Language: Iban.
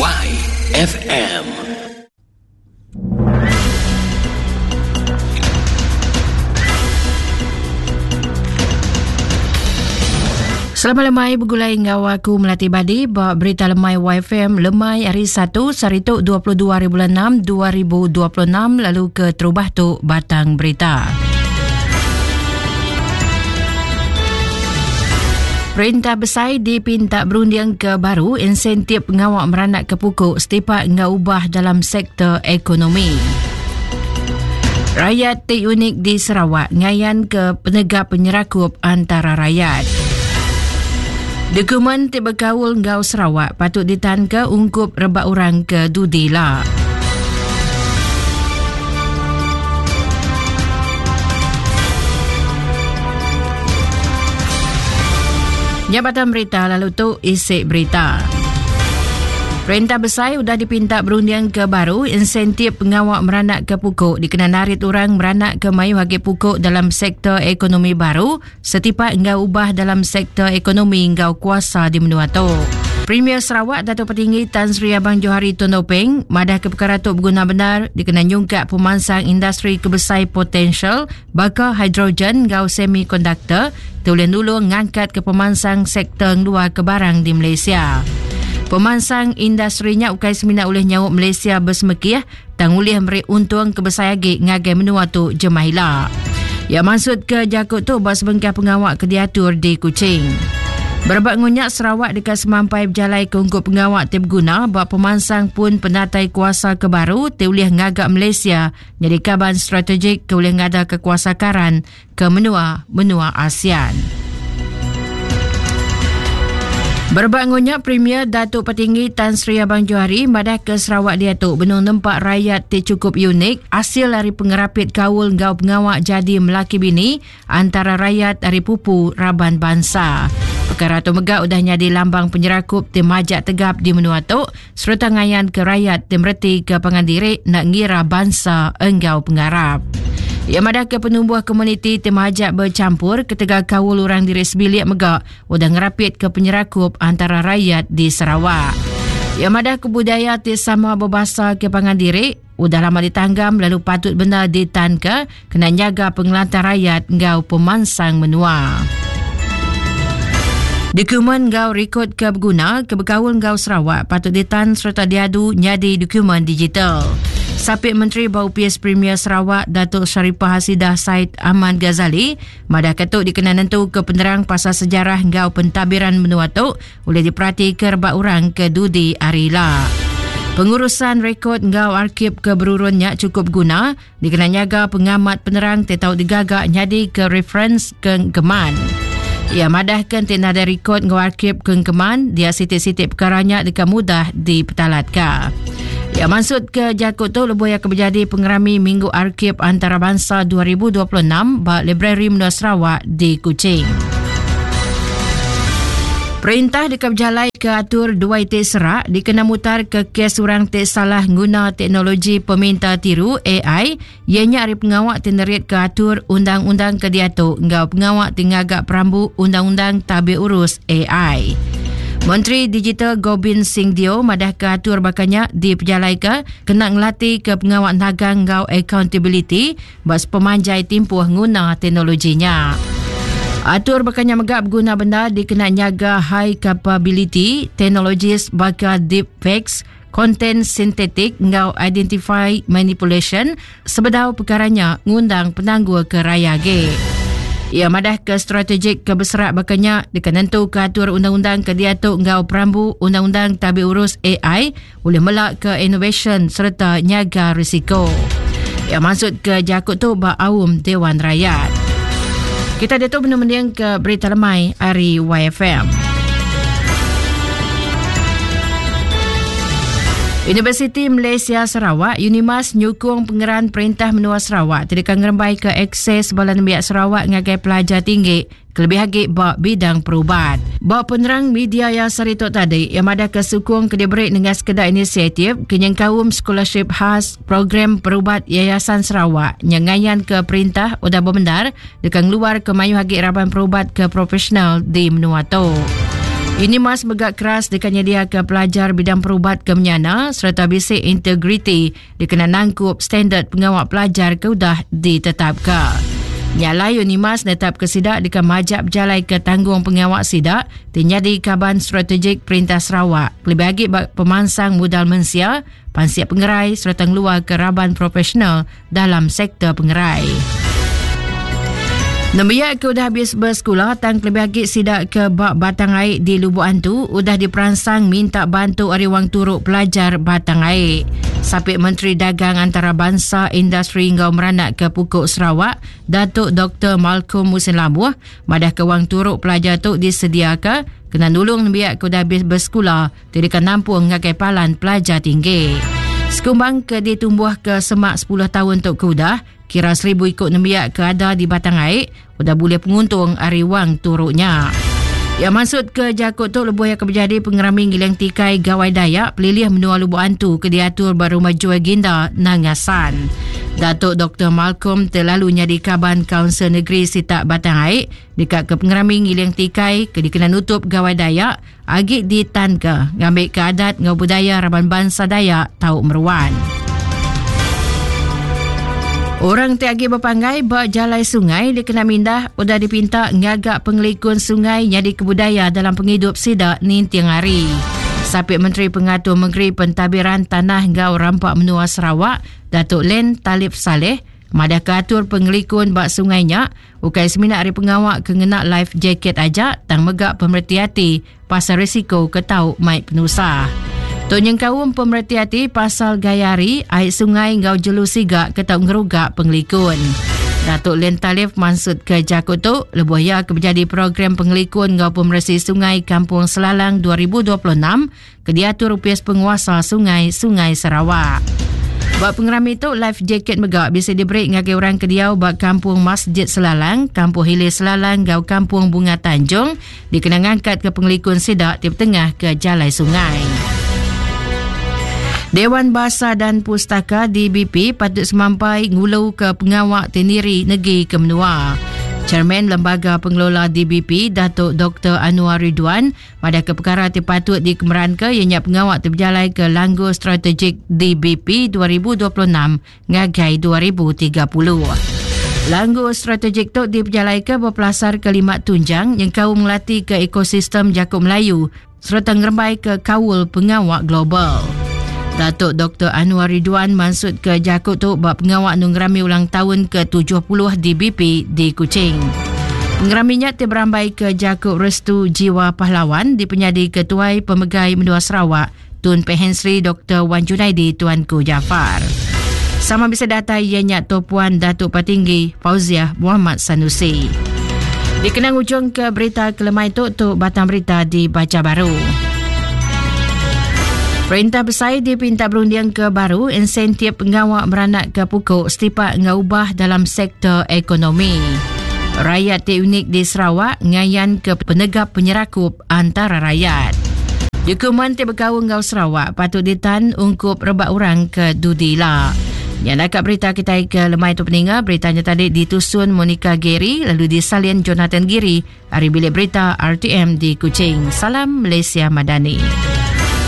YFM. Selamat lemai begulai enggau aku Melati Badi ba berita lemai YFM lemai hari 1 sehari tu 22 hari bulan 6 2026 lalu ke terubah tu batang berita. Perintah besai dipinta berunding ke baru insentif pengawa meranak ke pukuk setipak enggau ubah dalam sektor ekonomi. Rakyat ti unik di Sarawak ngayan ke penegap penyerakup antara rakyat. Dokumen ti bekaul enggau Sarawak patut ditanka ungkup rebak orang ke dudi la. Nya batang berita lalu tu isi berita. Perintah besai udah dipinta berunding ke baru insentif pengawa meranak ke pukuk dikena narit orang meranak ke mayuh agi pukuk dalam sektor ekonomi baru setipak enggau ubah dalam sektor ekonomi enggau kuasa di menua tu. Premier Sarawak Datuk Patinggi Tan Sri Abang Johari Tun Openg madah ke perkara tu beguna bendar dikena nyungkak pemansang industri ke besai potensial baka hidrogen enggau semikonduktor ti ulih nulung ngangkatka pemansang sektor ngeluarka barang di Malaysia. Pemansang industri nya ukai semina ulih nyaup Malaysia besemekih tang ulih meri untung ke besai agi ngagai menua tu jemah ila. Iya mansutka jaku tu ba sebengkah pengawa ke diatur di Kuching. Berebak enggau nya, Sarawak deka semampai bejalai ke ungkup pengawa ti beguna ba pemansang pun penatai kuasa ke baru ti ulih ngaga Malaysia nyadi kaban strategik ke ulih ngadaka kuasa karan ke menua-menua ASEAN. Berebak enggau nya, Premier Datuk Patinggi Tan Sri Abang Johari madah ke Sarawak diatu benung nempa rayat ti chukup unik asil ari pengerapit kaul enggau pengawa jadi melaki bini antara rayat ari pupu raban bansa. Pekara tu mega udah nyadi lambang penyerakup ti majak tegap di menua tu sereta ngayanka rayat ti meretika pangan diri enda ngira bansa enggau pengarap. Iya madahka penumbuh komuniti ti majak bechampur ketegal kaul orang diri sebilik mega udah ngerapitka penyerakup antara rayat di Sarawak. Iya madahka budaya ti sama bebasa ke pangan diri udah lama ditanggam lalu patut bendar ditanka kena nyaga pengelantang rayat enggau pemansang menua. Dokumen enggau rikod ke beguna ke bekaul enggau Sarawak patut ditan sereta diadu nyadi dokumen digital. Sapit Menteri ba Opis Premier Sarawak Datuk Sharifah Hasidah Said Ahmad Ghazali madahka tu dikena nentuka penerang pasal sejarah enggau pentadbiran menua tu ulih diperatika rebak orang ke dudi hari ila. Pengurusan rekod enggau arkib ke berurun nya chukup beguna Dikena nyaga pengamat penerang ti tau digaga nyadika referens ke engkeman. Iya madahka enti nadai rikod enggau arkib ke engkeman, dia siti-siti pekara nya deka mudah dipetalatka. Iya mansutka jaku tu lebuh iya ke bejadi pengerami Minggu Arkib Antarabansa 2026 ba Librari Menua Sarawak di Kuching. Perintah deka bejalaika atur dua iti serak dikena mutarka kes orang ti salah nguna teknologi peminta tiru, AI, iya nya ari pengawa ti neritka atur undang-undang ke diatu enggau pengawa ti ngaga perambu undang-undang tabir urus AI. Menteri Digital Gobind Singh Deo madahka atur baka nya dipejalaika kena ngelatika pengawa nagang enggau akauntabiliti ba sepemanjai timpuh nguna teknologi nya. Atur baka nya mega beguna bendar dikena nyaga high capability technologies baka deepfakes, konten sintetik enggau identify manipulation sebedau pekara nya ngundang penanggul ke raya agi. Iya madahka strategik ke beserak baka nya deka nentuka atur undang-undang ke diatu enggau perambu undang-undang tabi urus AI ulih melaka inovasyen sereta nyaga risiko. Iya mansutka jaku tu ba aum Dewan Rakyat. Kita diatu benung mendingka berita lemai ari YFM. Universiti Malaysia Sarawak, Unimas nyukung pengeran Perintah Menua Sarawak ti deka ngerembaika akses bala nembiak Sarawak ngagai pelajar tinggi kelebih agi ba bidang perubat. Ba penerang media iya sehari tu tadi, iya madahka sukung ke diberi nengah sekeda inisiatif ke nyengkaum Scholarship Khas Program Perubat Yayasan Sarawak nya ngayanka perintah udah bebendar deka ngeluarka mayuh agi raban perubat ke profesional di menua tu. Unimas mega keras deka nyediaka pelajar bidang perubat ke menyana sereta bisi integriti dikena nangkup standard pengawa pelajar ke udah ditetapka. Nya alai Unimas netapka sida deka majak bejalaika tanggung pengawa sida ti nyadi kaban strategik Perintah Sarawak kelebih agi ba pemansang mudal mensia, pansik pengerai sereta ngeluarka raban profesional dalam sektor pengerai. Nembiak ke udah habis bersekula tang kelebih agi sida ke ba Batang Ai di Lubok Antu udah diperansang minta bantu ari wang turu pelajar Batang Ai. Sapit Menteri Dagang Antarabansa Industri enggau Meranak ke Pukuk Sarawak, Datuk Doktor Malcolm Musin Labuh madah ke wang turu pelajar tu disediaka kena nulung nembiak ke udah habis bersekula ti deka nampung ngagai palan pelajar tinggi. Sekumbang ke ditumbuhka semak 10 taun tu ke udah, kira 1000 iku nembiak ke ada di Batang Ai udah bulih penguntung ari wang turu nya. Iya mansut ke jaku tu lebuh iya ke bejadi pengerami ngiling tikai Gawai Dayak pelilih menua Lubok Antu ke diatur ba Rumah Joy Ginda, Nanga San. Datuk Doktor Malcolm ti lalu nyadi kaban Kaunsil Negeri Sitak Batang Ai deka ke pengerami ngiling tikai ke dikena nutup Gawai Dayak agi ditanka ngambika adat enggau budaya raban bansa Dayak tau meruan. Orang ti agi bepanggai ba jalai sungai dikena mindah udah dipinta ngaga pengelikun sungai nyadika budaya dalam pengidup sida ninting hari. Sapit Menteri Pengatur Mengeri Pentadbiran Tanah enggau Rampa Menua Sarawak, Datuk Len Talib Salleh madahka atur pengelikun ba sungai nya Ukai semina ari pengawa ke ngena life jacket aja tang mega pemereti ati pasal risiko ke tau mai penusah. Tu nyengkaum pemereti ati pasal gaya hari, ai sungai enggau jelu siga ke tau ngeruga pengelikun. Datuk Len Talif mansutka jaku tu lebuh iya ke bejadi program pengelikun enggau pemeresi sungai Kampung Selalang 2026 ke diatur Opis Penguasa Sungai Sungai Sarawak. Ba pengerami tu, life jacket mega bisi diberi ngagai orang ke diau ba Kampung Masjid Selalang, Kampung Hilir Selalang enggau Kampung Bunga Tanjung dikena ngangkatka pengelikun sida ti betengah ke jalai sungai. Dewan Bahasa dan Pustaka DBP patut semampai nguluka pengawa ti niri negi ke menua. Chairman Lembaga Pengelola DBP Datuk Dr. Anwar Ridwan Madahka pekara ti patut dikemeranka iya nya pengawa ti bejalaika Langgur Strategik DBP 2026 ngagai 2030. Langgur strategik tu dipejalaika bepelasarka lima tunjang nyengkaum ngelatika ekosistem jaku Melayu sereta ngerembaika kaul pengawa global. Datuk Doktor Anwar Ridwan mansutka jaku tu ba pengawa nungerami ulang taun ke-70 DBP di Kuching. Pengerami nya ti berambai ke jaku Restu Jiwa Pahlawan dipenyadi Ketuai Pemegai Menua Sarawak Tun Pehin Sri Doktor Wan Junaidi Tuanku Jaafar. Sama bisa datai iya nya Toh Puan Datuk Patinggi Fauziah Muhammad Sanusi. Dikenang ujung ke berita kelemai tu tu batang berita dibaca baru. Perintah besai dipinta berunding ke baru insentif pengawa beranak ke pukuk setipak enggau ubah dalam sektor ekonomi. Rakyat ti unik di Sarawak ngayan ke penegap penyerakup antara rakyat. Dokumen ti bekaul enggau Sarawak patut ditan ungkup rebak orang ke dudi ila. Nya naka berita kitai ke lemai tu peninga, berita nya tadi ditusun Monica Gary lalu disalin Jonathan Giri Ari Bilik Berita RTM di Kuching. Salam Malaysia Madani.